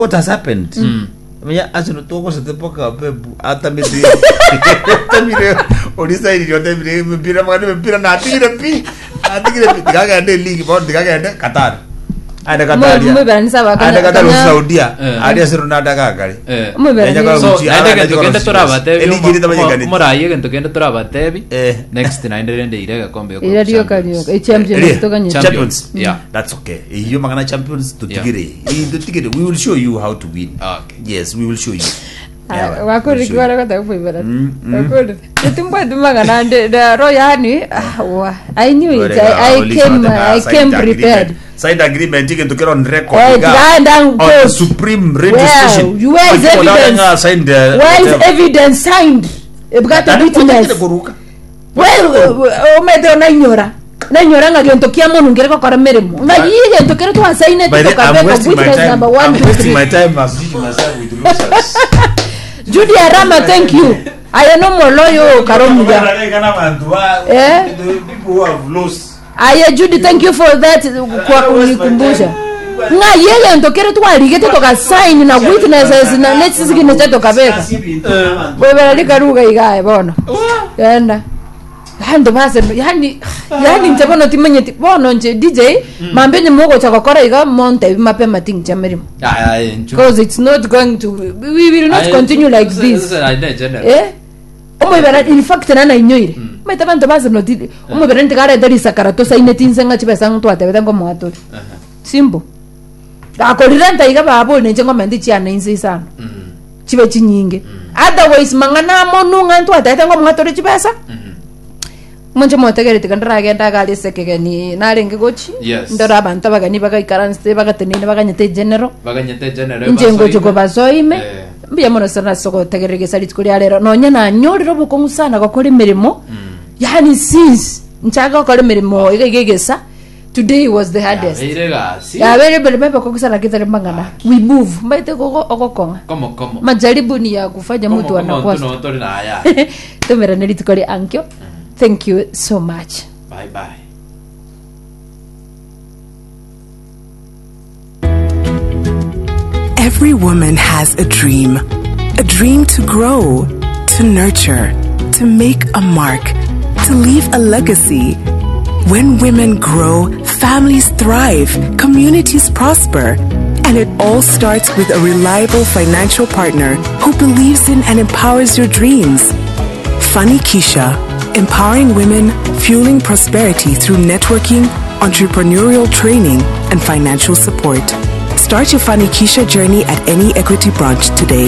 What has happened? Manya Arsenal twagosete mpaka Pep atamete atamire orisairire otemire emepira magana emepira natigire pi natigire pi tigagende league bono tigagende Qatar aende Qatar Mwe- mweberanisa abakanya- aende Qatar kanya- Saudia Eh. aria ase Ronaldo agakare Eh. Mweberanisa. Nenya So, Gucci, naende agende egento kende Gucci. torabatebi Eligi eri tamanyekaneti. omorayi egento kende torabatebi Eh. next naende rende ire egekombe gokwa Ira rioka Champions. rioka. Echampions Eria. toganyete. Champions. Yeah. That's okay. Iyo mangana champions tutigire. Iyi tutigire. We will show you how to win. Okay. Yes, we will show you. Yeah, we will wakorire show you. kiwara gotaka kuibera wakorire timbwati mangana nde ro yani ah, wa i knew it I, I came i came prepared Signed agreement egento kere on record. Eh, iga. tiraenda On the court. Supreme Radio Where? Station. Where is Ochi kodara evidence? ng'a signed, where is whatever. evidence signed ebwate Tari witness kwachakire koruka. Well, omete nainyora nainyora ng'a gento kia monwe nkere gokora meremo ng'a yi gento kere twasainete By the I'm tokabeka wasting my witness time. number one I'm two wasting three my time associating myself with losers. Judy Arama thank you aye nomoloyo karomuya Eh? The people who have lost. aye Judy thank you for that kwa kunikumbusha ng'a ye gento kere twarigete tokasaini na witnesses na nechisignature tokabeka bwebera rikaruga igae bono genda Banto base yani yani inche bono timanyeti bono inche DJ mambe onye mogocha gokora iga montebi mapema ting'cha merimo Ah, ah, inchu. because it's not going to we will not Ah, continue like sasa- this sasa naende general. eh omoibera in fact nana inyoire maete banto base noti omoibera ntikarete risakara tosaineti inse ng'a chibesa ng'a twatebete ngomoa tore simple gakorirenta iga baba ore ninche ngomenta chiane inse isano chibe chinyinge otherwise mang'ana amonu ng'a ntwatete ng'a omwatore chibesa monche motegere tiga ndaragenda iga aria ase ekegeni narenge gochi Yes. ndore abanto abageni bagaikaransete bagateneine baganyete egeneral Baganyete general inche basoime. ngochi kobasoime Eh. mbuya mono sana ase ogotegerera egesa rituko ria rero nonya nanyorire obokong'u sana gokora emeremo yaani since nchake gokora emeremo iga iga egesa Today was the hardest. Yabeire egasi. Yabeire emeremo ebekong'u sana kitari mang'ana. We move. Mbaete gogo ogokong'a. Komo komo. Majaribu ni ya kufanya Komo mtu komo anakuwa. ntu no tori na aya. Tumerane rituko ria ankio. Thank you so much. Bye bye. Every woman has a dream. A dream to grow, to nurture, to make a mark, to leave a legacy. When women grow, families thrive, communities prosper. And it all starts with a reliable financial partner who believes in and empowers your dreams. Funny Keisha, empowering women, fueling prosperity through networking, entrepreneurial training, and financial support. Start your Funny Keisha journey at any Equity branch today.